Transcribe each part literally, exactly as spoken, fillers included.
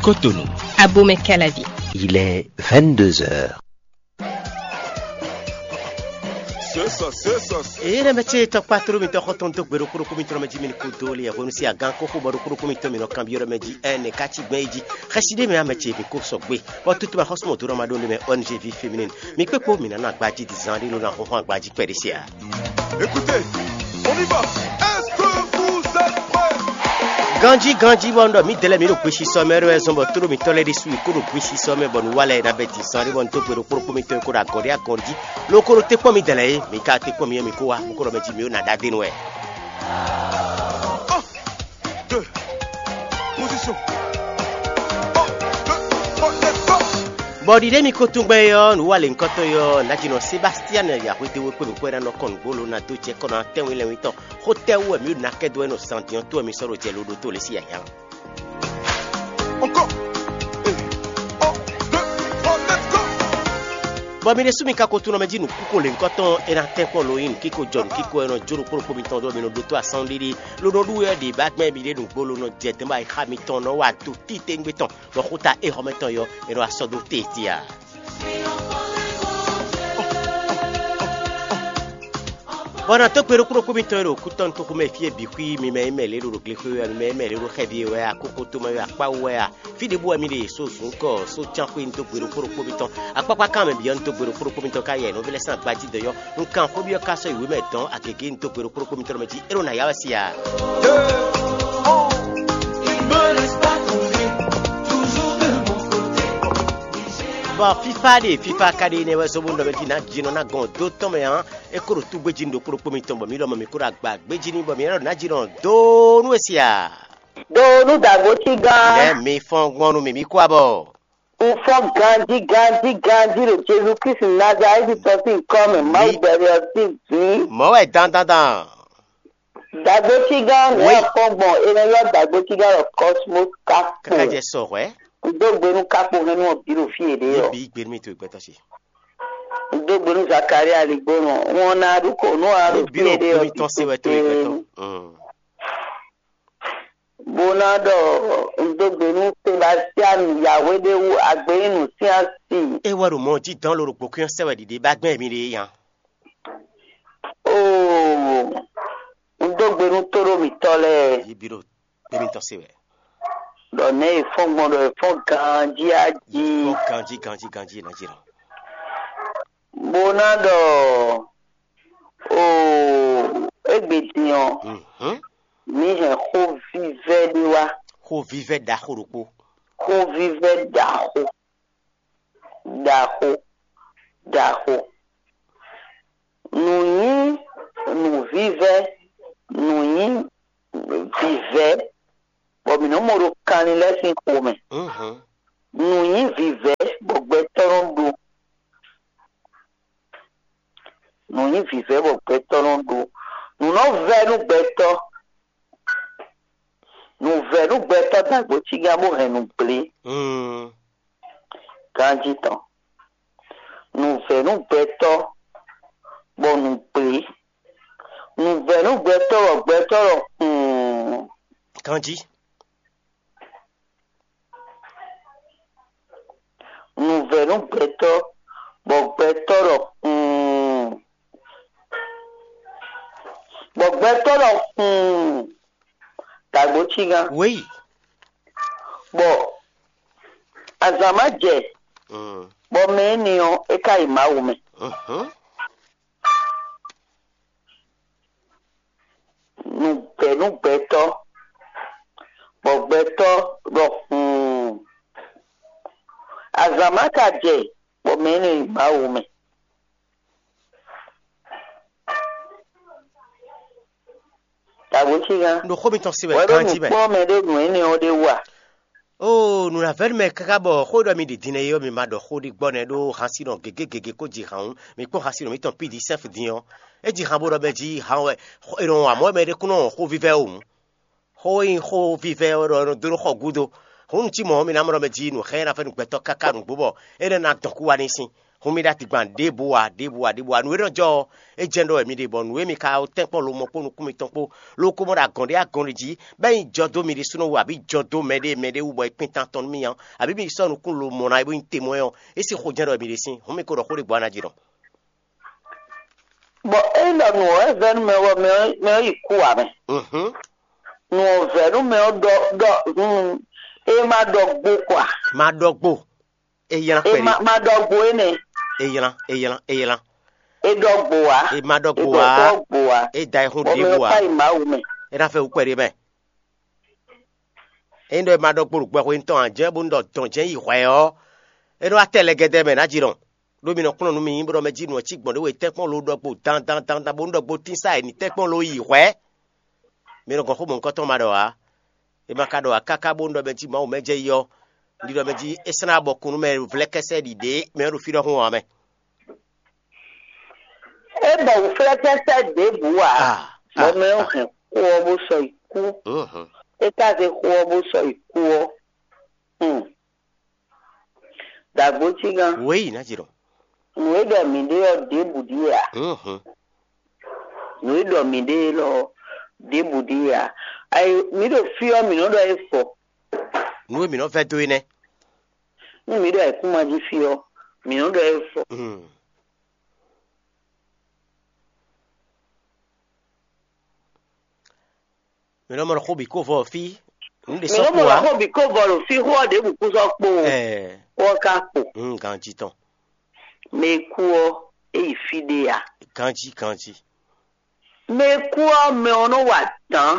Cotonou. Abomey Calavi. Il est vingt-deux heures. Eye ɖe mɛ ce tɔkpá tló mitɔn xɔtɔn dó gbe ɖokpó ɖokpó mitɔn mɛ jí mi ní kú dó li hwenu sí agán kókó bɔ ɖokpó ɖokpó mitɔn mi nɔ kanbyɔ́ ɖɔ mɛ jí ɛ nɛ ká ci gbɛn yi jí. Xɛsi ɖé mɛ amɛ ce mi kó sɔgbe bɔ tutu ma xɔsɔmɔ dó ɖɔ ma ɖó ɖé mɛ O N G V féminine. Mi kpékpó mi nǎ nɔ agbají di zan ɖé ló ná xɔxɔ agbají kpɛɖé se a? Écoutez, on y va. Est-ce que vous êtes prêts? Ganjí ganjí bɔ un ɖɔ mǐdɛɛ lɛ́ɛ mǐ ɖo gbesisɔ mɛ ɖó wɛ zɔn bɔ tóɖó mǐtɔn lɛ́ɛ ɖésú yi kó ɖo gbesisɔ mɛ bɔ nǔ wa lɛ́ɛ ná bɛ́ din zɔn ɖé bɔ un dó gbe ɖokpó ɖokpó mitɔn e kó ɖo agɔ̌ ɖé agɔ̌ jí. Ló kó ɖo tɛ́nkpɔ́n mǐdɛɛ lɛ́ɛ é, mǐ ka tɛ́nkpɔ́n mǐ é mǐ kó wá, bó kó ɖɔ mɛ jí mǐ ó ná ɖó adé nú wɛ. Deux. Position. Bɔ ɖiɖe mi ko tún gbɛ ɔ́, nǔ wa lě ŋkɔtɔn ɔ́, nǎjínɔ Sebastian ya hwedó we kpé mi kpɔ́ ná nɔ kɔn nǔgbó lo ná dó jɛ kɔn ná tɛ́nwún lɛ́nwún tɔn. Xó tɛ́ wú wɛ mǐ ɖo ná kɛ́ dó wɛ nɔ zan din ɔ́ tó wɛ mi sɔ́ ɖo jɛ loɖo tó lě sí yǎyá. Encore. Et un, deux, trois, let's go. Bɔ mi ɖésú mi ka ko tunɔ mɛ jí nǔkúko lě ŋkɔtɔn é ná tɛ́nkpɔ́n lo nyí nǔkíko jɔ nǔkíko e nɔ jó ɖokpó ɖokpó mitɔn ɖó mi nɔ ɖótó asán ɖiɖi ló nɔ ɖú wɛ ɖi bá gbɛn mi ɖé nǔgbó ló nɔ jɛ tɛ́nbɔ ayixa mitɔn nɔ wa do títewungbe tɔn bɔ xúta éhɔ́mɛ tɔn yɔ è nɔ asɔ dó teti a. Bɔ nɔ tó gbe ɖokpó ɖokpó mitɔn e ɖo kútɔn toxomɛ fí e bǐ xwí mi mɛ e mɛ lě ɖo ɖo glexwé wɛ a, mi mɛ e mɛ lě ɖo xɛví e wɛ a, kókó tomɛ wɛ a, kpáwú wɛ a, fí ɖěbǔ wɛ mi ɖe so zǔnkɔ so cánxwé un dó gbe ɖokpó ɖokpó mitɔn, akpákpá kan mɛ bǐ ɔ́ un dó gbe ɖokpó ɖokpó mitɔn ká yɛ nɔví lɛ́ɛ sín agbají dɔ̌ yɔ, un kan xó byɔ́ ká sɔ́ yi wěmɛ dɔn agěgé un dó gbe ɖokpó ɖokpó mitɔn mɛ jí é ɖo nǎ ya wɛ si a. Bɔ fífá ɖe fífá ka ɖe nɛ́ wɛ zɔ́ bó nɔ mɛ jí ná jinɔ ná gɔn dó tɔn mɛ ǎ. É kó ɖo túgbé jí ɖokpó ɖokpó mitɔn bɔ mǐ lɔmɔ mǐ kó ɖo agba gbé jí ní bɔ mǐ ná ɖo ná jinɔ dó nú é sia. Do nú dǎgbócí gán. Nɛ́ mi fɔ́n gbɔn nú mǐ mǐ kó abɔ. Un fɔ́n ganjí ganjí ganjí ɖo Jezu Kristi Nazalɛ́ti tɔn sín nyǐkɔ mɛ Mawu gbɛɖe ɔ́ sín vǐ. Mɔ̌ wɛ dandandan. Dǎgbócí gán nɛ́ fɔ́n gbɔn è nɔ ylɔ́ dǎgbócí gán ɖɔ Cosmos Kakpo. Káká jɛ sɔ hwɛ̌. Un dó gbe nú Kakpo hɛn nú ɔ́ bǐ ɖo fí yěɖée ɔ́. Yě bǐ gbé nú mì to gbɛtɔ́ ce. Un dó gbe nú Zakaria Ligbónɔ. Wọ́n ná ɖu kò nú a ɖo fí yěɖée ɔ́. Bó ná ɖɔ un dó gbe nú Sebastian Yahweh ɖé wú agbeyínu sín asi. É wɛ ɖo mɔ jí dán ló ɖo gbɔ̌kwín ɔ́ sɛ wɛ ɖiɖe bá gbɛn mi ɖe nya. Oo, un dó gbe nú tóɖó mǐtɔn lɛ́ɛ. Yí bí ɖo gbé mitɔn se wɛ. Ɖɔ nɛ̌ è fɔ́n gbɔn ɖɔ è fɔ́n ganjí á jí. Fɔ́n ganjí ganjí ganjí ná jí nɔ. Bó ná ɖɔ oo, égbé din ɔ́, mǐ hɛn xó vívɛ́ ɖé wá. Xó vívɛ́ ɖaxó ɖokpó. Xó vívɛ́ ɖaxó ɖaxó ɖaxó. Nǔ nyí nǔvívɛ́, nǔ nyí vǐvɛ́, bɔ mǐ nɔ́ mɔ ɖo kanlin lɛ́ɛ sín xomɛ. Nǔ nyí vǐvɛ́ bɔ gbɛtɔ́ nɔ ɖó. Nǔ nyí vǐvɛ́ bɔ gbɛtɔ́ nɔ ɖó. Nǔ nɔ vɛ́ nú gbɛtɔ́. Nǔvɛ́ nú gbɛtɔ́ dǎgbócígán bó hɛn nǔ gblé. Ganjí tɔn. Nǔvɛ́ nú gbɛtɔ́ bɔ nǔ gblé. Nǔvɛ́ nú gbɛtɔ́ bɔ gbɛtɔ́ ɖɔ xuu. Ganjí. Nǔvɛ́ nú gbɛtɔ́ bɔ gbɛtɔ́ ɖɔ xuu. Bɔ gbɛtɔ́ ɖɔ xuu. Dǎgbócígán. Wěyi. Bɔ azǎn má jɛ bɔ mɛ énɛ́ ɔ́ é ka yi Mawu mɛ. Nǔgbɛ́ nú gbɛtɔ́, bɔ gbɛtɔ́ ɖɔ xuu. Azǎn má ka jɛ bɔ mɛ énɛ́ yi Mawu mɛ. Dǎgbócígán. Ɖo xó mitɔn se wɛ ganjí mɛ. Wɛ ɖo nǔ kpɔ́n mɛ ɖé nǔ énɛ́ ɔ́ ɖé wú a? Oo, nǔnavɛ́nu mɛ káká bɔ xó ɖɔ mi ɖi din ɔ́, mi ma ɖɔ xó ɖi gbɔ nɛ́ ɖó hansinɔ gěgé gěgé kó ji han wú. Mi kpɔ́n hansinɔ mitɔn P D F din ɔ́. É ji han bó ɖɔ mɛ jí han wɛ è nɔ wɔn amɔ̌ mɛ ɖé kún nɔ wɔn xó vívɛ́ wú. Xó e nyí xó vívɛ́ ɔ́ ɖɔ è nɔ dó ɖó xɔ gúdo. Hǔn nǔ cí mɔ̌ mi ná mɔ ɖɔ mɛ jí nǔ xá ná fɛ́nú gbɛtɔ́ káká nǔgbó bɔ é nɛ́ ná dɔn kú wá ní sín. Hun mì ɖo atigban ɖěbǔ ǎ, ɖěbǔ ǎ, ɖěbǔ ǎ. Nǔ e nɔ jɔ ɔ́, é jɛ́n ɖɔ wɛ mi ɖe, bɔ nǔ e mi ka tɛ́nkpɔ́n lo mɔkpó nukún mitɔn kpó, ló ko mɔ ɖo agɔ̌n ɖé agɔ̌n ɖé jí, bɔ é nyí jɔ dó mi ɖésúnɔ wú, abǐ jɔ dó mɛɖé mɛɖé wú, bɔ é kpin tan tɔn nú mi ǎ, abǐ mi sɔ́ nukún lo mɔ ná é bó nyí te mɔ ɛ ɔ́, é sín xo jɛ́n ɖɔ wɛ mi ɖe sín. Hǔn mi ko ɖɔ xó ɖé gbɔ ná jí ɖɔ. Bɔ ényí ɖɔ nǔ ɔ́ wɛ vɛ́ nú mɛ ɔ́, mɛ ɔ́ mɛ ɔ́ yi kú ǎ mɛ. Mhm. Nǔ ɔ́ vɛ́ nú mɛ ɔ́ ɖɔ ɖɔ hun e ma ɖɔ gbo kɔ a? Ma ɖɔ gbo. Eylan E kpɛɖé. Ma ma ɖɔ gbo énɛ́. Eylan, eylan, eylan. E ɖɔ gbo a? E ma ɖɔ E gbo ɖɔ a. Ɖɔ gbo a? E da e hun Bɔ mɛ ɖěbǔ ɔ́ a? Kpa yi Mawu mɛ. E ná fɛ wú kpɛɖé mɛ. Ényí ɖɔ e ma ɖɔ gbo ɖo gbɛxwe mitɔn ǎ jɛ́n bónú ɖɔ dɔn jɛ́n yi hwɛ ɔ́, é nɔ wá tɛ lɛgɛdɛ mɛ nǎ jí nɔ. Ɖó mi nɔ kplɔ́n nú mi bó ɖɔ mɛ jí nǔ ɔ́ cí gbɔn ɖé we tɛ́nkpɔ́n lo ɖɔ gbo dan dan dan dan bónú ɖɔ gbo tín sá e ní tɛ́nkpɔ́n lo yi hwɛ. Mi nɔ gɔn xó mɔ̌hunkɔtɔn ma ɖɔ ǎ. E ma ka ɖɔ ǎ káká bónú ɖɔ mɛ jí Mawu mɛ jɛ yi ɔ́, un ɖi ɖɔ mɛ jí é slán abɔkun nú mɛ vlɛ́kɛ́sɛ́ ɖi ɖě mɛ ɔ́ ɖo fí ɖɔhun ɔ́ ǎ mɛ. É bɔ wǔflɛ́kɛ́sɛ́ ɖěbǔ ǎ, Ah, bɔ ah, mɛ ɔ́ ah. Hɛn xó ɔ́ bó sɔ́ yi kú. Mhm. É ka zé xó ɔ́ bó sɔ́ yi kú ɔ́. Hmm. Dǎgbócígán, Wěyi ná jɛ ɖɔ. Nǔ e ɖɔ mǐ ɖe ɔ́ ɖěbǔ ɖíe ǎ. Mhm. Nǔ e ɖɔ mǐ ɖe élɔ́ ɔ́ ɖěbǔ ɖíe ǎ. Ayi, mǐ ɖo fí ɔ́, mǐ nɔ ɖɔ é fɔ. Nǔ e mǐ nɔ vɛ́ dó é nɛ́. Nú mǐ ɖɔ ayǐkúngban jí fí ɔ́, mǐ nɔ ɖɔ é fɔ. Mm. Mǐ nɔ mɔ ɖɔ xó bǐ ko vɔ fí. Nǔ ɖě Mǐ sɔ́ nɔ kpo mɔ ɖɔ ǎ. Xó bǐ ko vɔ ɖo fí xó ɔ́ ɖěbǔ kú sɔ́ kpo o. Ɛɛ, Xó ɔ́ ka kpo. Mm, ganjí tɔn. Mɛ e kú ɔ́, é yi fí ɖé ǎ. Ganjí, ganjí. Mɛ e kú ɔ́, mɛ ɔ́ nɔ wa adǎn.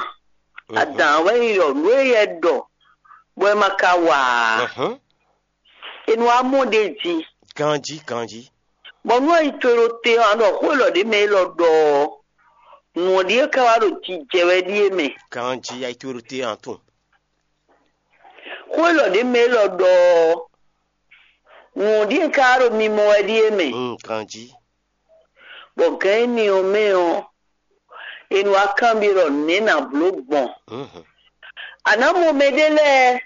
Mhm. Adǎn wɛ nyí ɖɔ nǔ e yɛ ɖɔ bɔ é ma ka wa ǎ. Mhm. È nɔ wá mɔ ɖ'é jí. Ganjí, ganjí. Bɔ nú ayi towe ɖo te ɔ́, a ɖɔ xó élɔ́ ɖě mɛ élɔ́ ɖɔ ɔ́, nǔ ɔ́ ɖíe ka wá ɖo jijɛ wɛ ɖíe mɛ. Ganjí ayi towe ɖo te ɔ́, a tunwun. Xó élɔ́ ɖě mɛ élɔ́ ɖɔ ɔ́, nǔ ɔ́ ɖíe ka wá ɖo mimɔ wɛ ɖíe mɛ. Mm, ganjí. Bɔ gǎn énɛ́ ɔ́ mɛ ɔ́, è nɔ wá kanbyɔ́ ɖɔ nɛ̌ nǎ bló gbɔn. Mhm. A nǎ mɔ mɛɖé lɛ́ɛ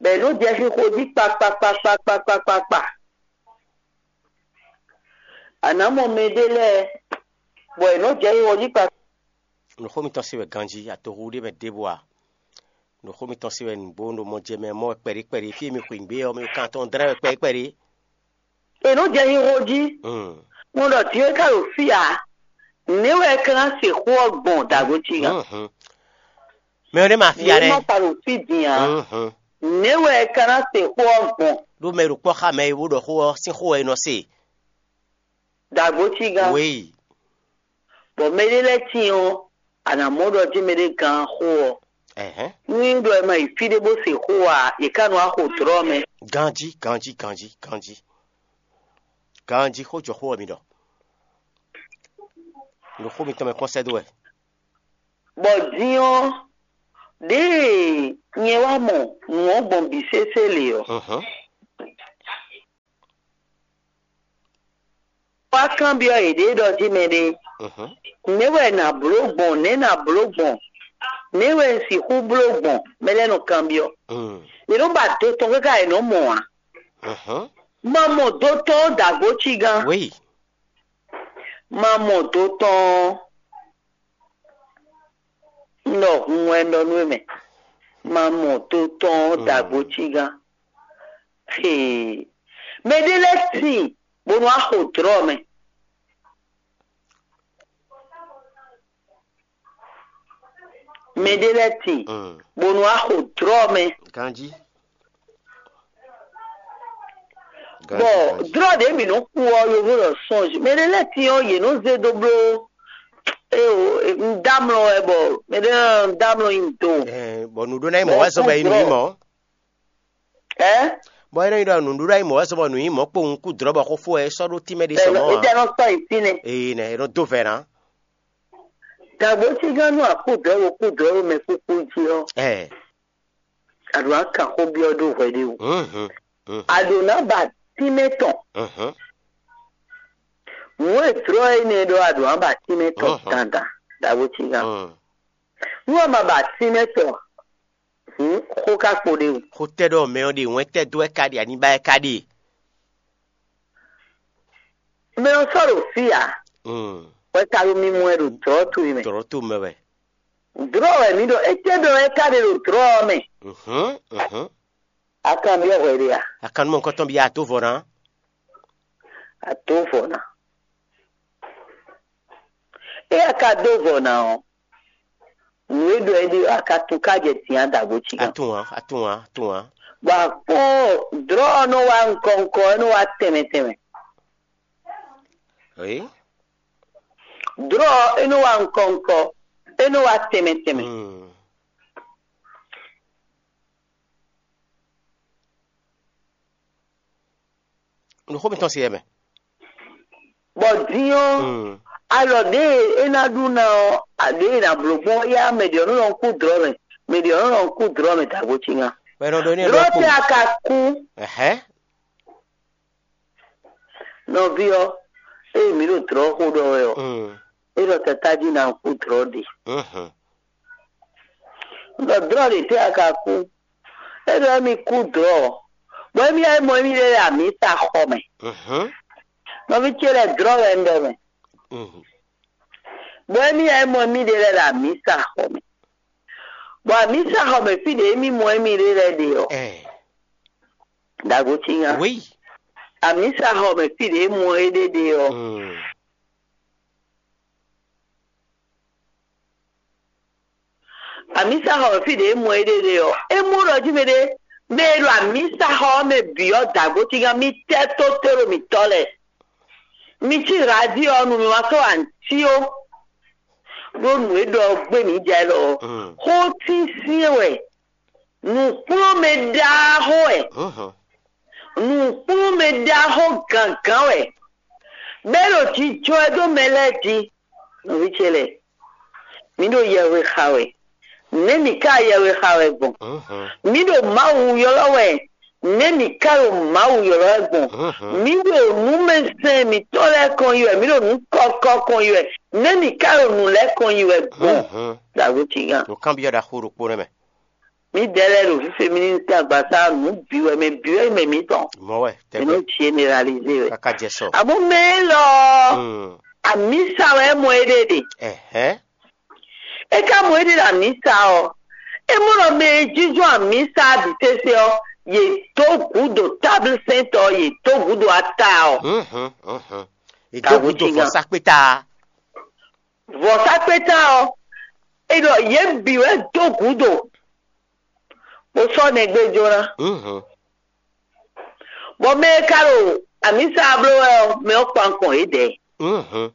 bɔ è nɔ́ jɛ xixo jí kpakpakpakpakpakpakpa. A nǎ mɔ mɛɖé lɛ́ɛ bɔ è nɔ́ jɛ xixo jí kpakpa. Nǔxó mitɔn se wɛ ganjí, atohu ɖé mɛ ɖěbǔ ǎ. Nǔxó mitɔn se wɛ nǔgbó ɖo mɔ jɛ mɛ mɔ wɛ kpɛɖé kpɛɖé, fí e mi xweyǐgbe ɔ́, mi kan tɔn dlɛ́ wɛ kpɛɖé kpɛɖé. È nɔ jɛ xixo jí. Mm. Mo ɖɔ din é ka ɖo fí ǎ. Nɛ̌ wɛ é ka ná se xó ɔ́ gbɔn dǎgbo cí gán? Mhm. Mɛ ɔ́ ɖé ma fia Nɛ̌ nɛ́. Nɔ ka ɖo fí din ǎ. Mhm. Nɛ̌ wɛ é ka ná se xó ɔ́ gbɔn? Ɖó mɛ e ɖo kpɔ́ xá mɛ e bó ɖɔ xó ɔ́ sín xó wɛ è nɔ se. Dǎgbo cí gán. Wěyi. Bɔ mɛɖé lɛ́ɛ tíin ɔ́, a nǎ mɔ ɖɔ jí mɛɖé gán xó ɔ́. Ɛhɛn. Nú nyí ɖɔ è ma yi fí ɖé bó se xó ǎ, è ká nɔ wá xo dlɔ̌ mɛ. Ganjí, ganjí, ganjí, ganjí. Ganjí xó jɔ xó ɔ́ mi ɖɔ. Ɖo xó mitɔn mɛ kpɔ́n sɛ́ dó wɛ. Bɔ din ɔ́, ɖěe nyɛ wá mɔ nǔ ɔ́ gbɔn bǐ sésé lě ɔ́, Mhm. Wá kanbyɔ́ yěɖée ɖɔ jí mɛɖé, Mhm. Nɛ̌ wɛ è nǎ bló gbɔn? Nɛ̌ è nǎ bló gbɔn? Nɛ̌ wɛ un sixú bló gbɔn? Mɛ lɛ́ɛ nɔ kanbyɔ́. Mm. Yě nɔ ba do tɔn káká yě nɔ mɔ ǎ. Mhm. Ma mɔ do tɔn ɔ́ dǎgbó cí gán. Wěyi. Ma mɔ do tɔn ɔ́. Un ɖɔ hun wɛ un ɖɔ nú we mɛ. Ma mɔ do tɔn ɔ́ dǎgbó cí gán. Hee. Mɛɖé lɛ́ɛ tíin bó nɔ wá xo dlɔ̌ mɛ. Mɛɖé lɛ́ɛ tíin Mm. bó nɔ wá xo dlɔ̌ mɛ. Ganjí. Bɔ Ganjí, ganjí. Dlɔ̌ ɖě mǐ nɔ kú ɔ́, yovo ɖɔ sɔ́nj. Mɛɖé lɛ́ɛ tíin ɔ́, yě nɔ zé dó bló. Eo, un dó amlɔ wɛ bɔ mɛɖé lɛ́ɛ un dó amlɔ nyi do. Ɛɛ, bɔ nǔɖó ná nyí mɔ̌ wɛ zɔn bɔ é yi nǔ nyí mɔ̌. Ɛ? Bɔ é nɔ nyí ɖɔ nǔɖuɖu ayǐ mɔ̌ wɛ sɔ bɔ nǔ nyí mɔ̌ kpowun kú dlɔ̌ bɔ xó fó wɛ é sɔ́ ɖó tínmɛ ɖé sɔ mɔ̌ ǎ. Étɛ́ nɔ sɔ́ nyi fínɛ́? Ee nɛ, é nɔ dó vɛ̌ ná. Dǎgbó cí gán nú akúdɔ̌ wo kúdɔ̌ wo mɛ kúkú jí ɔ́, Ɛɛ. A ɖǒ ná kan xó byɔ́ ɖó hwɛɖéwú. Mhm, mhm, A ɖǒ ná ba tínmɛ tɔn. Mhm. Nǔ e jlɔ́ énɛ́ ɖɔ a ɖǒ ná ba tínmɛ tɔn Mhm. dandan, dǎgbó cí gán. Mhm. Nú a ma ba tínmɛ tɔn, hǔn xó ka kpo ɖe o. Xó tɛ́ ɖɔ mɛ ɔ́ ɖe wɛn tɛ́ dó wɛ ka ɖe aníba wɛ ka ɖe? Mɛ ɔ́ sɔ́ ɖo fí ǎ, Mm. Wɛ ka ɖo mi mɔ ɛ ɖo dlɔ̌ towe mɛ. Dlɔ̌ to mɛ wɛ. Dlɔ̌ wɛ mǐ ɖo, étɛ́ ɖɔ wɛ ka ɖe ɖo dlɔ̌ ɔ́ mɛ? Mhm, mhm. A kan byɔ́ hwɛ ɖe a? A kan nú mɔ nukɔntɔn byɔ́ a dó vɔ ná. A dó vɔ ná. Ée a ka dó vɔ ná ɔ́, nǔ e ɖɔ é ɖe ɔ́, a ka tunwun ká jɛ din a dǎgbó cí A gán. Tunwun ǎ, a tunwun ǎ, a tunwun ǎ. Bɔ a kpɔ́n dlɔ̌ ɔ́ nɔ wá nukɔn nukɔn, é nɔ wá tɛnmɛ tɛnmɛ. Ě? Dlɔ̌ ɔ́, é nɔ wá nukɔn nukɔn, é nɔ wá tɛnmɛ tɛnmɛ. Hmm. Nǔxó mitɔn se yɛ mɛ. Bɔ din ɔ́, Mm. Alɔ ɖě e é ná ɖu ná ɔ́, ɖě e è nǎ bló gbɔn ɔ́, yá mɛ ɖě ɔ́ nɔ kú dlɔ̌ mɛ, mɛ ɖě ɔ́ nɔ kú dlɔ̌ mɛ dǎgbó cí gán. Bɔ è nɔ ɖó ní Dlɔ̌ ɖɔkpó. Tɛ́ a ka kú? Ɛhɛn. Nɔví ɔ́, ée mǐ ɖo dlɔ̌ xo ɖɔ wɛ ɔ́, Mm. É ɖɔ tatá jí ná kú dlɔ̌ ɖe. Mhm. Ɖɔ dlɔ̌ ɖě tɛ́ a ka kú? É ɖɔ émí kú dlɔ̌, bɔ émí wá yi mɔ émí ɖe lɛ́ɛ amǐsa xɔ mɛ. Mhm. Nɔví ce lɛ́ɛ dlɔ̌ wɛ un ɖɔ mɛ. Mhm. Bɔ émí wá yi mɔ émí ɖe lɛ́ɛ ɖo amǐsa xɔ mɛ. Bɔ amǐsa xɔ mɛ fí ɖě émí mɔ émí ɖe lɛ́ɛ ɖe ɔ́, Ɛ. Ɖago cí nya. Oui. Amǐsa xɔ mɛ fí ɖě é mɔ éɖée ɖe ɔ́, Mm. Amǐsa xɔ fí ɖě e mɔ éɖée ɖe ɔ́, é mɔ ɖɔ jí mɛɖé mɛ e ɖo amǐsa xɔ ɔ́ mɛ bǐ ɔ́ dǎgbo cígán mì tɛ́ tó tóɖo mǐtɔn lɛ́ɛ. Mi cí radio ɔ́ nu, mi ma sɔ́ antíó ɖó nǔ e ɖɔ ɔ́ gbé mǐ jɛ lɔ ɔ́. Mm. Xó tínsyɛn wɛ, nǔkplɔ́nmɛ ɖaxó wɛ, Mhm. nǔkplɔ́nmɛ ɖaxó gǎngán wɛ, bɛ́ ɖo jijɔ ɛ dó mɛ lɛ́ɛ jí. Nɔví ce lɛ́ɛ, mǐ ɖo yɛhwe xa wɛ. Nɛ̌ mǐ ka yɛhwe xa wɛ gbɔn? Mhm. Mǐ ɖo Mawu ylɔ́ wɛ. Nɛ̌ mǐ ka ɖo Mawu ylɔ́ wɛ gbɔn? Mhm. Mǐ ɖo nǔmɛsɛn mǐtɔn lɛ́ɛ kɔn yi wɛ. Mǐ ɖo nǔ kɔkɔ kɔn yi wɛ. Nɛ̌ mǐ ka ɖo nǔ lɛ́ɛ kɔn yi wɛ gbɔn? Mhm. Ɖago cígán. Nǔkanbyɔ́ ɖaxó ɖokpó nɛ́ mɛ. Mǐdɛɛ lɛ́ɛ ɖo fífé mì ní sín agbaza nǔ bǐ wɛ, mɛ bǐ wɛ nyí mɛ mǐtɔn. Mɔ̌ wɛ, Mǐ nɔ tɛgbɛ. Jí énɛ́ réalizé wɛ. Káká jɛ sɔ. Amɔ̌ mɛ élɔ́ ɔ́, Mm. Amǐsa wɛ é mɔ éɖée ɖe. Ɛhɛn. É ka mɔ éɖée ɖo amǐsa ɔ́, é mɔ ɖɔ mɛ e jínjɔ́n amǐsa bǐ sésé ɔ́, yě dó gǔdo táblisɛ́ntɔ́, yě dó gǔdo ata ɔ́. Mhm, mhm. È dó gǔdo vɔ̌sákpéta. Vɔ̌sákpéta ɔ́, é ɖɔ yě bǐ wɛ dó gǔdo, bó sɔ́ nɛgbé jó ná. Mhm. Bɔ mɛ e ka ɖo amǐsa bló wɛ ɔ́, mɛ ɔ́ kpan kɔn yědɛɛ. Mhm.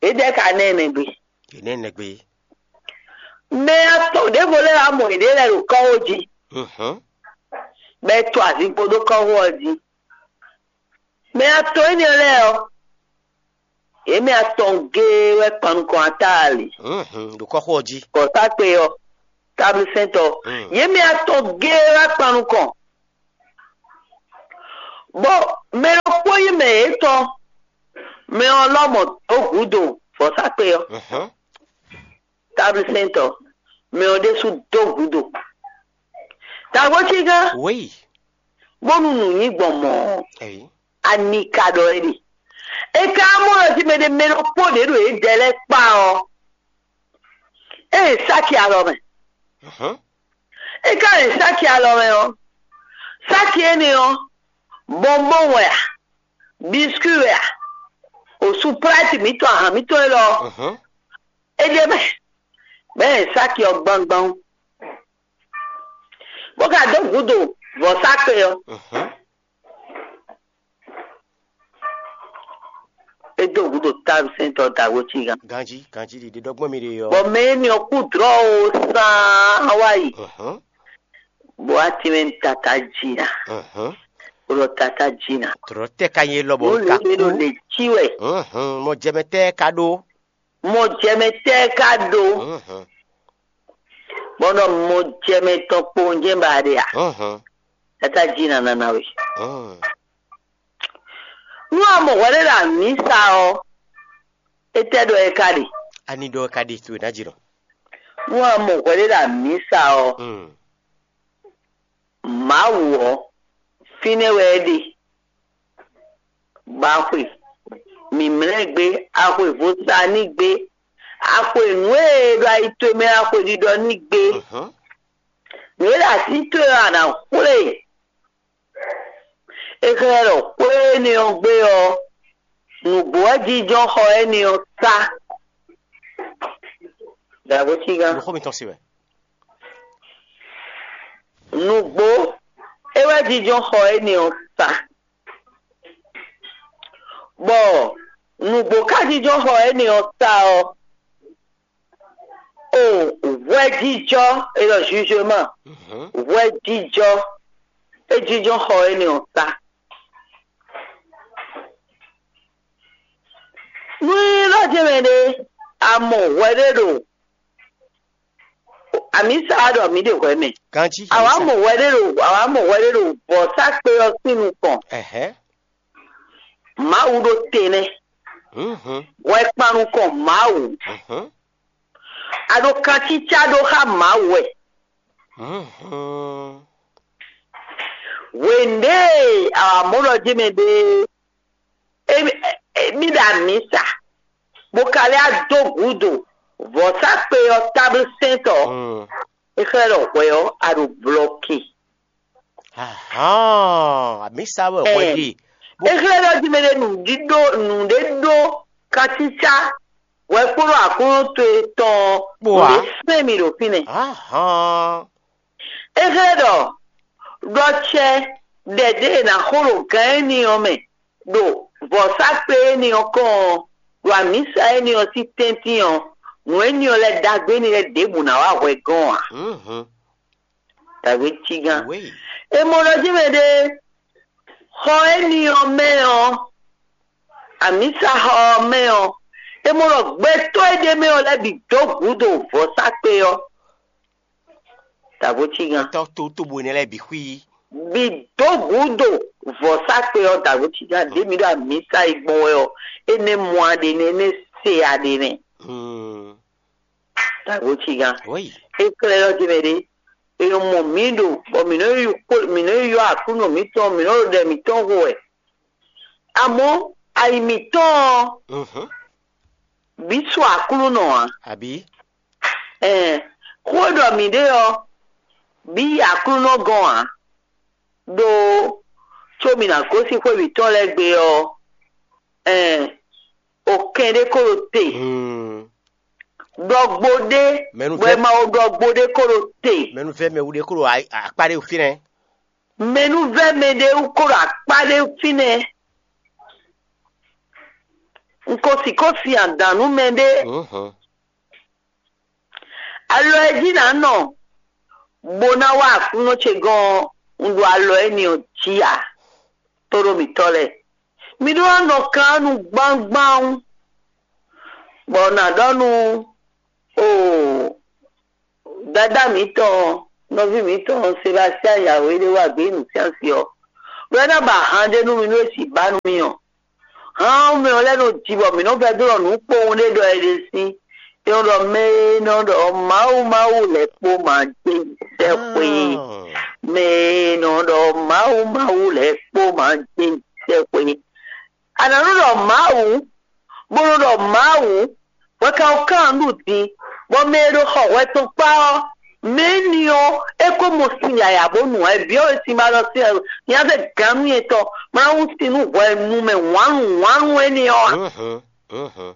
Yědɛɛ ka ná ɛ nɛgbé. Yě ná ɛ nɛgbé. Mɛ atɔn ɖěvo lɛ́ɛ wá mɔ yěɖée lɛ́ɛ ɖo kɔ́xo jí, Mhm. bɔ é to azinkpo ɖó kɔ́xo ɔ́ jí. Mɛ atɔn énɛ́ lɛ́ɛ ɔ́, yě mɛ atɔn géé wɛ kpan nukɔn Atáali. Mhm. Ɖo kɔ́xo ɔ́ jí. Kɔsákpe ɔ́, táblisɛ́ntɔ́, Mm. Yě mɛ atɔn géé wá kpan nukɔn. Bɔ mɛ ɖokpó nyí mɛ yětɔn, mɛ ɔ́ lɔmɔ̌ dó gǔdo vɔ̌sákpe ɔ́. Mhm. Táblisɛ́ntɔ́, mɛ ɔ́ ɖésú dó gǔdo. Tagbo cí gán, Oui. Bónú nǔ nyí gbɔn mɔ̌ ɔ́, Ɛyi. Ani ka ɖɔ é ɖe? É ka mɔ ɖɔ jí mɛ ɖé mɛ ɖokpó ɖě ɖo yědɛɛ lɛ́ɛ kpá ɔ́, é nyi sáki alɔ mɛ. Mhm. É ka nyi sáki alɔ mɛ ɔ́, sáki énɛ́ ɔ́, bɔnbɔn wɛ a, biskwi wɛ a, osu plati mǐtɔn, ahan mǐtɔn élɔ́ ɔ́, Mhm. É ɖe mɛ, bɔ é nyi sáki ɔ́ gbangban, bó ka dó gǔdo vɔ̌sákpe ɔ́. Mhm. É dó gǔdo táwǔsɛntɔ́ dǎwe cígan. Ganjí, ganjí ɖiɖe ɖɔgbɔn mi ɖe ɔ́. Bɔ mɛ énɛ́ ɔ́ kú dlɔ̌ o sán wá yi. Mhm. Bó wá tínmɛ tata jǐ ná. Mhm. Bó ɖɔ tata jǐ ná. Dlɔ̌ tɛ́ ka nyí élɔ́ bɔ Bó un ka lě ɖo kú? Lě cí wɛ. Mhm. Mɔ jɛmɛ tɛ́ ka ɖó? Mɔ jɛmɛ tɛ́ ka ɖó? Mhm. Bɔ nɔ mɔ jɛmɛ tɔn kpowun jɛ́n ba ɖe a? Mhm. Tata jǐ ná ná ná we. Mhm. Nú a mɔ hwɛɖé ɖo amǐsa ɔ́, étɛ́ ɖɔ é ka ɖe? Ani ɖɔ é ka ɖe towe ná jǐ nɔ? Nú a mɔ hwɛɖé ɖo amǐsa ɔ́, Mm. Mawu ɔ́, fínɛ́ wɛ é ɖe. Ba xwe. mǐmlɛ́ gbé, a xwe vo sa n'i gbé, a xwe nǔ e ɖo ayi towe mɛ a xwe ɖiɖɔ n'i gbé. Nǔ e ɖo así towe ɔ́, a nǎ xwlé e. É xlɛ́ ɖɔ xwé énɛ́ ɔ́ gbé ɔ́, nǔgbó wɛ jínjɔ́n xɔ énɛ́ ɔ́ sá. Dǎbócígán. Nǔxó mitɔn se wɛ. Nǔgbó é wɛ jínjɔ́n xɔ énɛ́ ɔ́ sá. Bɔ nǔgbó ka jínjɔ́n xɔ énɛ́ ɔ́ sá ɔ́, o hwɛjijɔ, é ɖɔ jugement, hwɛjijɔ é jínjɔ́n xɔ énɛ́ ɔ́ sá. Nú é ɖɔ jɛ́n mɛ ɖé, a mɔ hwɛ ɖé ɖo amǐsa ɖɔ mǐ ɖe hwɛ mɛ. Ganjí. Àwa mɔ hwɛ ɖé ɖo àwa mɔ hwɛ ɖé ɖo vɔ̌sákpe ɔ́ sín nukɔn. Ɛhɛn. Mawu ɖo te nɛ́. Mhm. Hwɛ kpan nukɔn Mawu. Mhm. A ɖo kancícá ɖó xá Mawu wɛ. Mhm. Hwěndé e a wǎ mɔ ɖɔ jí mɛ ɖe, émí ɖo amǐsa, bó ka lɛ́ dó gǔdo vɔ̌sákpe ɔ́ táblu sɛ́ntɔ́. Mm. É xlɛ́ ɖɔ hwɛ ɔ́, a ɖo blɔki. Ahán, amǐsa wɛ hwɛ ɖe. É xlɛ́ ɖɔ jí mɛ ɖe nǔɖíɖó nǔɖé ɖó kancícá hwɛ kpódó Aklúnɔ towe tɔn ɔ́, nǔɖé sɛ́n mì ɖo fínɛ́. Ahán. É xlɛ́ ɖɔ ɖɔ cɛ ɖɛɖé e è nǎ xo ɖo gǎn énɛ́ ɔ́ mɛ ɖo vɔ̌sákpe énɛ́ ɔ́ kɔn ɔ́, ɖo amǐsa énɛ́ ɔ́ sín tɛ́ntin ɔ́, nǔ énɛ́ ɔ́ lɛ́ɛ ɖagbe énɛ́ lɛ́ɛ ɖěbǔ ná wá hwɛ gɔ́n ǎ. Dǎwe cígán. É mɔ ɖɔ jí mɛ ɖé xɔ énɛ́ ɔ́ mɛ ɔ́, amǐsa xɔ ɔ́ mɛ ɔ́, é mɔ ɖɔ gbɛtɔ́ e ɖ'é mɛ ɔ́ lɛ́ɛ bǐ dó gǔdo vɔ̌sákpe ɔ́. Dǎvo cígán. Tɔ́ tó tóbo énɛ́ lɛ́ɛ bǐ xwí. Bǐ dó gǔdo vɔ̌sákpe ɔ́, dǎvo cígán. Ɖě mi ɖo amǐsa yi gbɔn wɛ ɔ́, énɛ́ mɔ aɖe nɛ́, énɛ́ se aɖe nɛ́. Dǎvo cígán. É xlɛ́ ɖɔ jí mɛ ɖé, è nɔ mɔ mǐ ɖo bɔ mǐ nɔ yi xwé- mǐ nɔ yi ylɔ́ Aklúnɔ mǐtɔn, mǐ nɔ ɖo ɖɛ mǐtɔn xo wɛ. Amɔ̌ ayi mǐtɔn ɔ́, bǐ su Aklúnɔ ǎ. Abǐ? Ɛɛn, xó e ɖɔ mǐ ɖe ɔ́, bǐ yi Aklúnɔ gɔ́n ǎ. Ɖó có mǐ ná gosín xwé mǐtɔn lɛ́ɛ gbe ɔ́, ɛɛn, okɛn ɖé ko ɖo te. Ɖɔgbo ɖé Mɛnu bɔ vɛ́- è ma wo ɖɔgbo ɖé ko ɖo te. Mɛnuvɛ́ mɛ wú ɖé kó ɖo a- akpá ɖé fínɛ́. Mɛnuvɛ́ mɛ ɖé wú ko ɖo akpá ɖé fínɛ́. Un ko sixú sin adǎn nú mɛɖé. Alɔ e jí nǎ nɔ bó ná wá Aklúnɔ ce gɔ́n ɔ́, un ɖo alɔ énɛ́ ɔ́ jí ǎ. Tóɖó mǐtɔn lɛ́ɛ, mi ɖó ná nɔ kan nú gbángbán, bɔ nǎ ɖɔ nú o dadá mǐtɔn, nɔví mǐtɔn Sebastiyani Yawéɖéwágbé nǔsyánsi ɔ́, ɖɔ é ná ba han ɖé nú mi nú é sixú ba nú mi ɔ́. Hán mɛ ɔ́ lɛ́ɛ nɔ ji bɔ mǐ nɔ vɛdó ɖɔ nǔ kpowun ɖé ɖɔ è ɖe sín. É nɔ ɖɔ mɛ e nɔ ɖɔ Mawu Mawu lɛ́ kpo ma gbé sɛ́xwe. Mɛ e nɔ ɖɔ Mawu Mawu lɛ́ kpo ma gbé sɛ́xwe. A nǎ nɔ ɖɔ Mawu, bó nɔ ɖɔ Mawu, hwɛ ka ko kan nǔ din, bɔ mɛ e ɖo xɔ hwɛ tɔn kpá ɔ́, mɛ énɛ́ ɔ́, é ko mɔ sin yǎyá bó nu ǎ. È byɔ́ we sin ba ɖɔ sin nya zɛ gǎn nú nyɛ tɔn, ma ná wú sin nú hwɛ nu mɛ wǎnnu wǎnnu énɛ́ ɔ́ ǎ.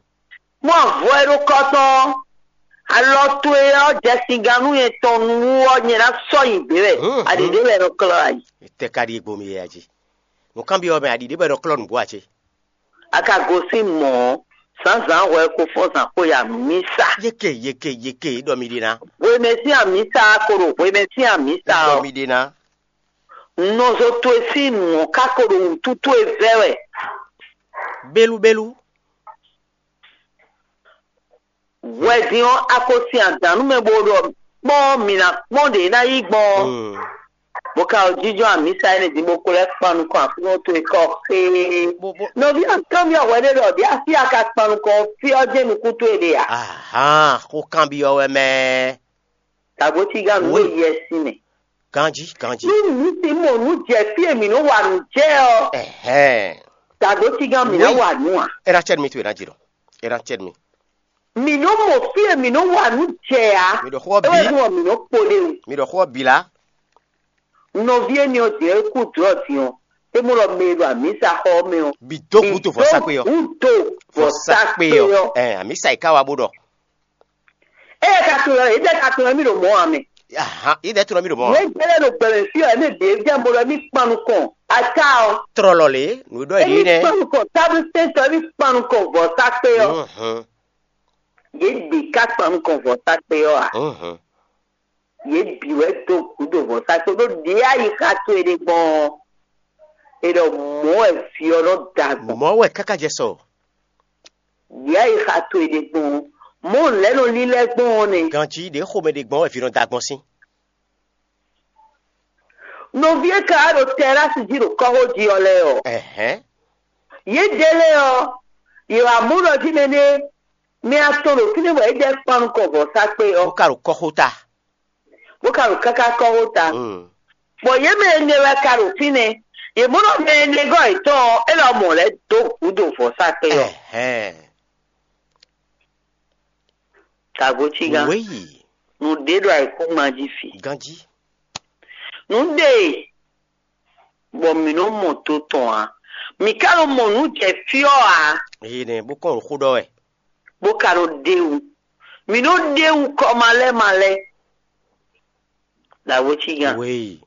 Mɔ avɔ e ɖo kɔ tɔn ɔ́, alɔ towe ɔ́ jɛ sin gǎn nú nyɛ tɔn nu ɔ́, nyɛ ná sɔ́ nyi ɖě wɛ. Aɖǐ ɖě wɛ è nɔ klɔ́ ayi. Tɛ ka ɖi egbo mi yɛ jí? Nǔkanbyɔ́ mɛ aɖǐ ɖě wɛ è nɔ klɔ́ nǔgbó ǎ cé? A ka gosín mɔ̌ ɔ́, zǎnzǎn hwɛ ko fɔ́n zǎn xo ya mǐ sa. Yeke yeke yeke ɖɔ mi ɖe ná. Hwemɛ sín amǐsa ko ɖo hwemɛ sín amǐsa ɔ́. Ɖɔ mi ɖe ná. Nɔzo towe sín nǔ ɔ́ ka ko ɖo wǔtu towe vɛ́ wɛ. Bélú bélú. Hwɛdín ɔ́, a ko sin adǎn nú mɛ bó ɖɔ kpɔ́n mǐ ná kpɔ́n ɖě ná yí gbɔn ɔ́. Bó ka o jínjɔ́n amǐsa énɛ́ din bó ko lɛ́ kpan nukɔn Aklúnɔ towe kɔ xéé. Nɔví ɔ́, kanbyɔ́ hwɛ ɖé ɖɔ ɖě afí a ka kpan nukɔn ɔ́, fí ɔ́ jɛ́n nukún towe ɖe a? Ahán, xó kanbyɔ́ wɛ mɛ. Tagbo cígán nǔ ɖo yɛ sin mɛ. Ganjí, ganjí. Nú mǐ sin mɔ nǔ jɛ fí e mǐ nɔ wa nǔ jɛ ɔ́, Ɛhɛn. Agbotígán, mǐ ná wa nǔ ǎ. É ná cɛ́ nú mì towe ná jǐ ɖɔ. É ná cɛ́ nú mì. Mǐ nɔ́ mɔ fí e mǐ nɔ́ wa nǔ jɛ ǎ. Mi ɖɔ xó ɔ́ bǐ. É wɛ nú ɔ mǐ nɔ́ kpo ɖe o. Mi ɖɔ xó ɔ́ bǐ lá. Nɔví énɛ́ ɔ́ din ɔ́, é kú dlɔ̌ din ɔ́, é mɔ ɖɔ mɛ e ɖo amǐsaxɔ ɔ́ mɛ ɔ́, Bǐ dó gǔdo vɔ̌sakpe ɔ́. Gǔdo vɔ̌sakpe ɔ́. Ɛ, amǐsa yi ká wa bó ɖɔ. Ée ka tunwun ɔ́, yědɛɛ ka tunwun mì ɖo mɔ̌ ǎ mɛ. Ahan, yědɛɛ tunwun mì ɖo mɔ̌ ǎ. Nǔ e jɛ lɛ́ ɖo gbɛmɛ fí ɔ́, ɛmɛ bǐ é jɛ mɔ ɖɔ émí kpan nukɔn. Aká ɔ́. Tlɔlɔ lě, nǔ e ɖɔ yě Émí nɛ́. Kpan nukɔn tábú sɛntɔ́, émí kpan nukɔn vɔ̌sakpe ɔ́. Mhm. Yě bǐ ka kpan nukɔn vɔ̌sakpe ɔ́ ǎ. Mhm. Yě bǐ wɛ dó gǔdo vɔ̌sakpe ɖó ɖě ayixa towe ɖe gbɔn ɔ́, è ɖɔ mɔ̌ wɛ vǐ ɔ́ nɔ da gbɔn. Mɔ̌ wɛ káká jɛ sɔ. Ɖě ayixa towe ɖe gbɔn ɔ́, mɔ̌ lɛ̌ nɔ lílɛ́ gbɔn ɔ́ nɛ́. Ganjí ɖě xomɛ ɖe gbɔn wɛ vǐ nɔ da gbɔn sín. Nɔví e ka wá ɖo tɛrási jí ɖo kɔ́xo jí ɔ́ lɛ́ɛ ɔ́, Ɛhɛn. Yědɛɛ lɛ́ɛ ɔ́, yě wǎ mɔ ɖɔ jí mɛ ɖé mɛ atɔn ɖo fínɛ́ bɔ yědɛɛ kpan nukɔn vɔ̌sakpe ɔ́, Bó ka ɖo kɔ́xota. Bó ka ɖo káká kɔ́xo ta. Mm. Bɔ yě mɛ ɛnɛ wɛ ka ɖo fínɛ́. Yě mɔ ɖɔ mɛ ɛnɛ gɔ́ yětɔn ɔ́, é lɔ mɔ lɛ́ dó gǔdo vɔ̌sakpe ɔ́. Ɛhɛn. Tagotígán. Wéyi. Nǔɖé ɖo ayǐkúngban jí fi. Ganjí. Nǔɖé bɔ mǐ nɔ mɔ to tɔn ǎ. Mǐ ka nɔ mɔ nǔ jɛ fí ɔ́ ǎ. Eye nɛ bó kɔn xó ɖɔ wɛ. Bó ka nɔ ɖe wú. Mǐ nɔ ɖe wú kɔ malɛ́ malɛ́. Lǎwétígán. Wéyi.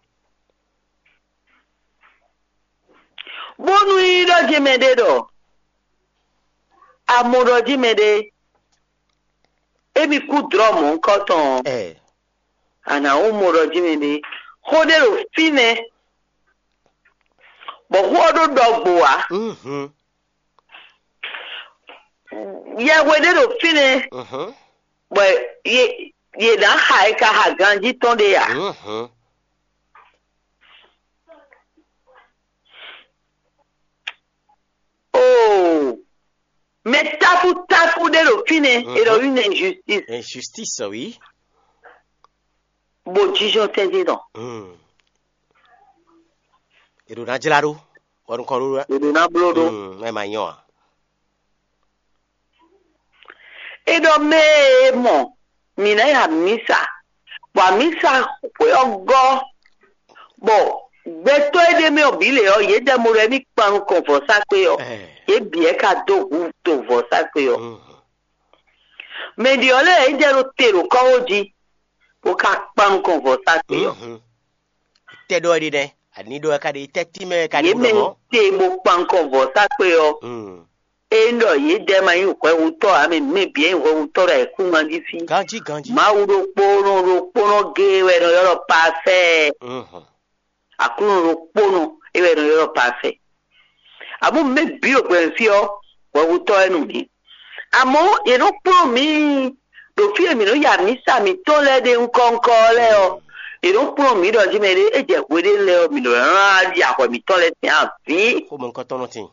Bónú yí ɖɔ jí mɛɖé ɖɔ, a mɔ ɖɔ jí mɛɖé, émí kú dlɔ̌ mɔ̌hunkɔtɔn ɔ́, Ɛ. A nǎ wú mɔ ɖɔ jí mɛɖé, xó ɖé ɖo fínɛ́, bɔ xó ɔ́ ɖó ɖɔgbo ǎ. Mhm. Yɛhwe ɖé ɖo fínɛ́, Mhm. bɔ yě yě ná xa e ka xa ganjí tɔn ɖé ǎ. Mhm. Oo, mɛ táfútáfú ɖé ɖo fínɛ́, Mhm. E ɖɔ une injustice. Injustice, oui. Bo jijɔ tɛntin tɔn. Mm. E ɖo ná jlá ɖó. Wɔ nukɔn ɖó. E ɖo ná bló ɖó. Mm, ɛ ma nyɔ a. E ɖɔ mɛ e mɔ mǐ ná yi amǐsa, bɔ amǐsa xwé ɔ́ gɔ́, bɔ gbɛtɔ́ e ɖ'é mɛ ɔ́ bǐ lě ɔ́, yě ɖɛ mo ɖɔ émí kpan nukɔn vɔ̌sakpe ɔ́, Ɛɛ. Yě bǐ wɛ ka dó hu to vɔ̌sakpe ɔ́. Mm. Mɛ ɖě ɔ́ lɛ́ɛ yě jɛ ɖo te ɖo kɔ́xo jí, bó ka kpan nukɔn vɔ̌sakpe ɔ́. Mhm. Tɛ ɖɔ ɖi nɛ, ani ɖɔ ka ɖi tɛ tí mɛ ka ɖi Yě mɛ ɖɔ mɔ. Te bó kpan nukɔn vɔ̌sakpe ɔ́. Mm. Ényí ɖɔ yědɛɛ ma nyí hwɛhutɔ́ ǎ, mɛ mɛ bǐ e nyí hwɛhutɔ́ ɖo ayǐkúngban jí fí. Ganjí ganjí. Mawu ɖokpónɔ ɖokpónɔ géé wɛ è nɔ ylɔ́ ɖɔ parfait. Mhm. Aklúnɔ ɖokpónɔ é wɛ è nɔ ylɔ́ ɖɔ parfait. Amɔ̌ mɛ bǐ ɖo gbɛmɛ fí ɔ́, hwɛhutɔ́ wɛ nú mǐ. Amɔ̌ yě nɔ kplɔ́n mǐ ɖo fí e mǐ nɔ ya mǐsa mǐtɔn lɛ́ɛ ɖe ŋkɔ́ŋkɔ́ ɔ́ lɛ́ɛ ɔ́, yě nɔ kplɔ́n mǐ ɖɔ jí mɛ ɖé é jɛ hwe ɖé lɛ́ɛ ɔ́, mǐ nɔ lɛ́ ná ya hwɛ mǐtɔn lɛ́ɛ sín avǐ. Xomɛ ŋkɔtɔn nɔ tin.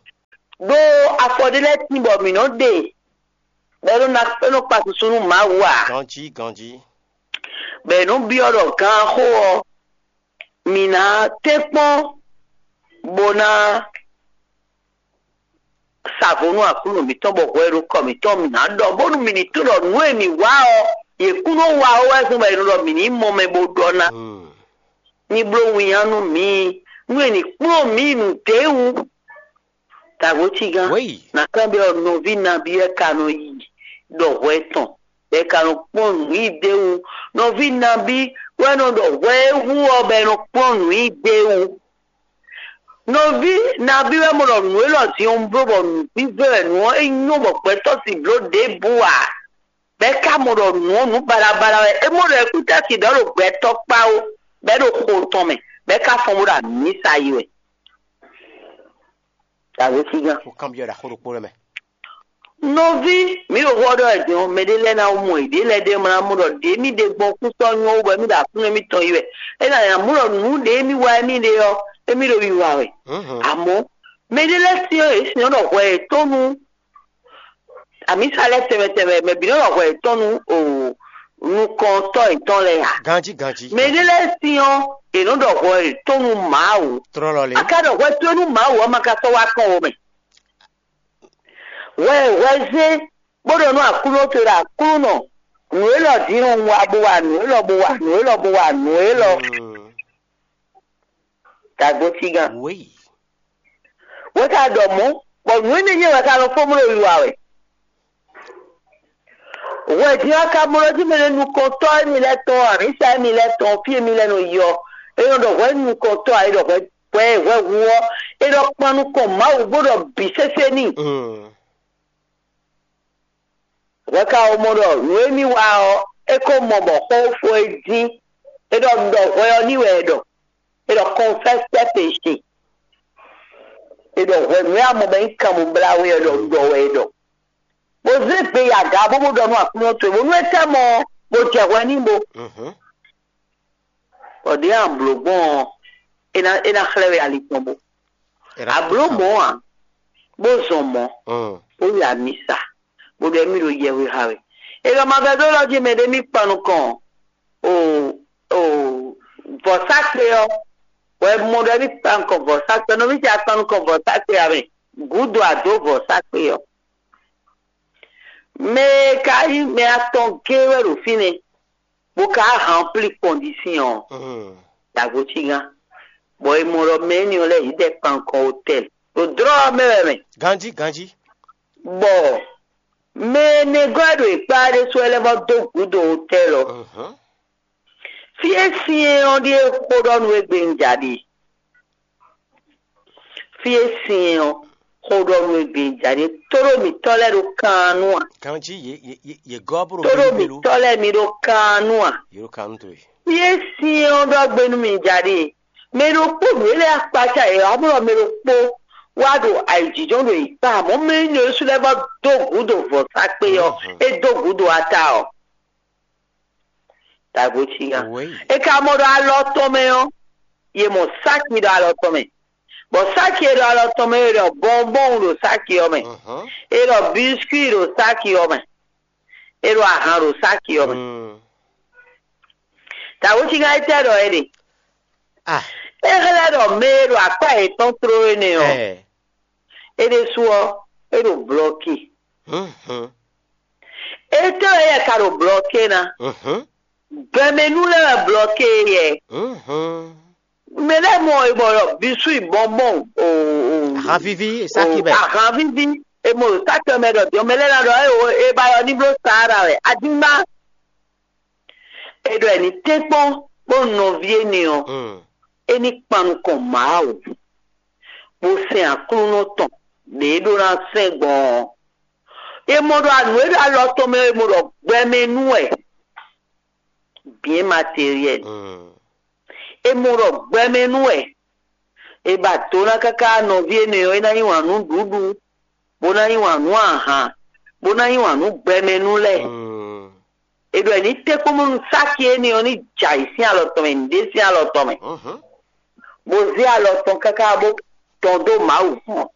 Ɖó afɔ ɖé lɛ́ɛ tín bɔ mǐ nɔ ɖe, bɔ é nɔ ná é nɔ kpa susu nú Mawu ǎ. Ganjí ganjí. Bɔ è nɔ byɔ́ ɖɔ gǎn xó ɔ́, mǐ ná tɛ́nkpɔ́n bó ná sa vo nú Aklúnɔ mǐtɔn, bɔ hwɛ e ɖo kɔ mǐtɔn mǐ ná ɖɔ, bónú mǐ ní tunwun ɖɔ nǔ e mǐ wa ɔ́, yě kún nɔ wa ó wɛ zɔ́n bɔ è nɔ ɖɔ mǐ ní mɔ mɛ bó ɖɔ ná. Hmm. Ní bló winnyá nú mǐ, nú è ní kplɔ́n mǐ nǔɖé wú. Dǎgbócígán, Wéyi. Ná kanbyɔ́ nɔví nabí wɛ ka nɔ yi ɖɔ hwɛ tɔn, bɔ è ka nɔ kpɔ́n nǔ yí d'é wú? Nɔví nabí wɛ nɔ ɖɔ hwɛ e hu ɔ́, bɔ è nɔ kplɔ́n nǔ yí d'é wú? Nɔví nabí wɛ mɔ ɖɔ nǔ élɔ́ din ɔ́ bló bɔ nǔvívɛ́ wɛ nǔ ɔ́ é nyɔ́ bɔ gbɛtɔ́ sixú bló ɖěbǔ ǎ? Bɔ é ka mɔ ɖɔ nǔ ɔ́ nǔ baɖabaɖa wɛ, é mɔ ɖɔ é kún tɛ́ sin ɖɔ ɖo gbɛtɔ́ kpá ó, bɔ é ɖo xo tɔn mɛ, bɔ é ka fɔ́n bó ɖo amǐsa yi wɛ. Dǎgbócígán. Xó kanbyɔ́ ɖo axó ɖokpó lɛ́ɛ mɛ. Nɔví, mǐ ɖo xó ɔ́ ɖɔ wɛ din ɔ́, mɛɖé lɛ́ɛ ná mɔ yěɖée lɛ́ɛ ɖ'é mlá mɔ ɖɔ ɖě mì ɖe gbɔn kú sɔ́ nyɔ́ wú bɔ émí ɖo Aklúnɔ émítɔn yi wɛ. É ná nya mɔ ɖɔ nǔ ɖě émí wa émí ɖe ɔ́, émí ɖo wiwa wɛ. Mhm. Amɔ̌, mɛɖé lɛ́ɛ syɔ́n yě syɔ́n ɖɔ hwɛ yětɔn nú amǐsa lɛ́ɛ tɛnmɛ tɛnmɛ, mɛ bǐ nɔ ɖɔ hwɛ yětɔn nú o nukɔntɔ́ yětɔn lɛ́ɛ ǎ. Ganjí ganjí. Mɛɖé lɛ́ɛ syɔ́n yě nɔ ɖɔ hwɛ yětɔn nú Mawu. Tlɔlɔ lě. A ka ɖɔ hwɛ towe nú Mawu ɔ́, ma ka sɔ́ wá kɔn wo mɛ. Hwɛ hwɛ zé bó ɖɔ nú Aklúnɔ towe ɖɔ: Aklúnɔ, nǔ élɔ́ din un wa bó wa nǔ élɔ́ bó wa nǔ élɔ́ bó wa nǔ élɔ́. Dagbotígán. Wěyi. Wě ka ɖɔ mɔ̌, bɔ nǔ énɛ́ nyɛ wɛ ka nɔ fó mló wiwa wɛ. Hwɛ din ɔ́, ka mlɔ́ jí mɛ ɖé nukɔntɔ́ émí lɛ́ɛ tɔn, amǐsa émí lɛ́ɛ tɔn, fí émí lɛ́ɛ nɔ yi ɔ́, é nɔ ɖɔ hwɛ nukɔntɔ́ ǎ, é ɖɔ hwɛ hwɛ hwɛ hu ɔ́, é ɖɔ kpan nukɔn Mawu bó ɖɔ bǐ sésé n'i. Hwɛ ka wɛ mɔ ɖɔ nǔ e mì wa ɔ́, é ko mɔ bɔ xó fó é dín. É ɖɔ ɖɔ hwɛ ɔ́ ní wɛ é ɖɔ. É ɖɔ confesse tes péchés. É ɖɔ hwɛ nǔ e a mɔ bɔ é nyí kanmɔblá we ɔ́ ɖɔ ɖɔ wɛ é ɖɔ. Bó zé gbe yi aga bó bó ɖɔ nú Aklúnɔ towe bónú é tɛ́ mɔ ɔ́, bó jɛ hwɛ n'i bo. Bɔ ɖěe a blǒ gbɔn ɔ́, é ná é ná xlɛ́ we ali tɔn bo. A blǒ mɔ̌ ǎ, bó zɔn mɔ̌, bó yi amisa, bó ɖɔ émí ɖo yɛhwe xa we. È ɖɔ ma vɛdó lɔ jí mɛ ɖé mì kpan nukɔn o o vɔ̌sákpe ɔ́, wɛ mɔ ɖɔ émí kpan nukɔn vɔ̌sákpe, nɔví ce a kpan nukɔn vɔ̌sákpe ǎ mɛ, gǔdo a dǒ vɔ̌sákpe ɔ́. Mɛ e ka nyí mɛ atɔn géé wɛ ɖo fínɛ́, bó ka hanplí kɔndisín ɔ́, dagbo cí gán, bɔ è mɔ ɖɔ mɛ énɛ́ ɔ́ lɛ́ɛ yě dɛ kpan nukɔn otɛ́l ɖo dlɔ́ ɔ́ mɛ wɛ mɛ. Ganjí, ganjí. Bɔ mɛ e nɛgɔ́ e ɖo yě kpá ɖésú wɛ lɛ́ vɔ́ dó gǔdo otɛ́l ɔ́. Fí e syɛ́n ɔ́ ɖíe xó ɖɔ nú we gbe un ja ɖe. Fí e syɛ́n ɔ́ xó ɖɔ nú we gbe un ja ɖe. Tóɖó mǐtɔn lɛ́ɛ ɖo kan nú a? Ganjí yě yě yě yě gɔ́ bó ɖo Tóɖó gbéɖú gbéɖú. Mǐtɔn lɛ́ɛ mi ɖo kan nú a? Yě ɖo kan nú towe. Fí e syɛ́n ɔ́ ɖɔ gbe nú mi ja ɖe. Mɛ ɖokpó nǔ e lɛ́ɛ akpácá yě ɔ́, amlɔ mɛ ɖokpó wá ɖo ayǐjínjɔ́n ɖo yě kpá, amɔ̌ mɛ énɛ́ ɖésú lɛ́ɛ vɔ́ dó gǔdo vɔ̌sákpe ɔ́, é dó gǔdo ata ɔ́. Dagbo cí gán. Wěyi. É ka mɔ ɖɔ alɔ tɔn mɛ ɔ́, yě mɔ sáki ɖo alɔ tɔn mɛ. Bɔ sáki e ɖo alɔ tɔn mɛ é ɖɔ bɔnbɔn ɖo sáki ɔ́ mɛ. É ɖɔ biscuit ɖo sáki ɔ́ mɛ. É ɖo ahan ɖo sáki ɔ́ mɛ. Dagbo cí gán é tɛ́ ɖɔ é ɖe. Ah. É xlɛ́ ɖɔ mɛ e ɖo akpá yětɔn tló énɛ́ ɔ́, é ɖésú ɔ́, é ɖo blɔki. Étɛ́ wɛ yɛ ka ɖo blɔke ná? Gbɛmɛnú lɛ́ɛ wɛ blɔke yɛ. Mɛ lɛ́ɛ mɔ e bɔ ɖɔ bisú yi bɔnbɔn o o Ahanvíví, sáki mɛ. Ahanvíví e mɔ ɖo sáki mɛ ɖɔ diɔ mɛ lɛ́ɛ ná ɖɔ e o e ba yɔ ní bló Sahara wɛ adígbá. É ɖɔ ɛ ní tɛ́nkpɔ́n bó nɔví énɛ́ ɔ́, é ní kpan nukɔn Mawu, bó sɛn Aklúnɔ tɔn ɖě é ɖó ná sɛn gbɔn ɔ́. È mɔ ɖɔ nǔ e ɖo alɔ tɔn mɛ ɔ́, è mɔ ɖɔ gbɛmɛ nú wɛ, bien matériel. È mɔ ɖɔ gbɛmɛ nú wɛ. È ba do ná káká nɔví énɛ́ ɔ́, é ná yí wǎn nú nǔɖuɖu, bó ná yí wǎn nú ahan, bó ná yí wǎn nú gbɛmɛ nú lɛ́ɛ. È ɖɔ è ní tɛ́nkpɔ́n bónú sáki énɛ́ ɔ́ ní jɛ ayǐ sín alɔ tɔn mɛ, nǔɖé sín alɔ tɔn mɛ, bó zé alɔ tɔn káká bó tɔn dó Mawu kpɔ́n.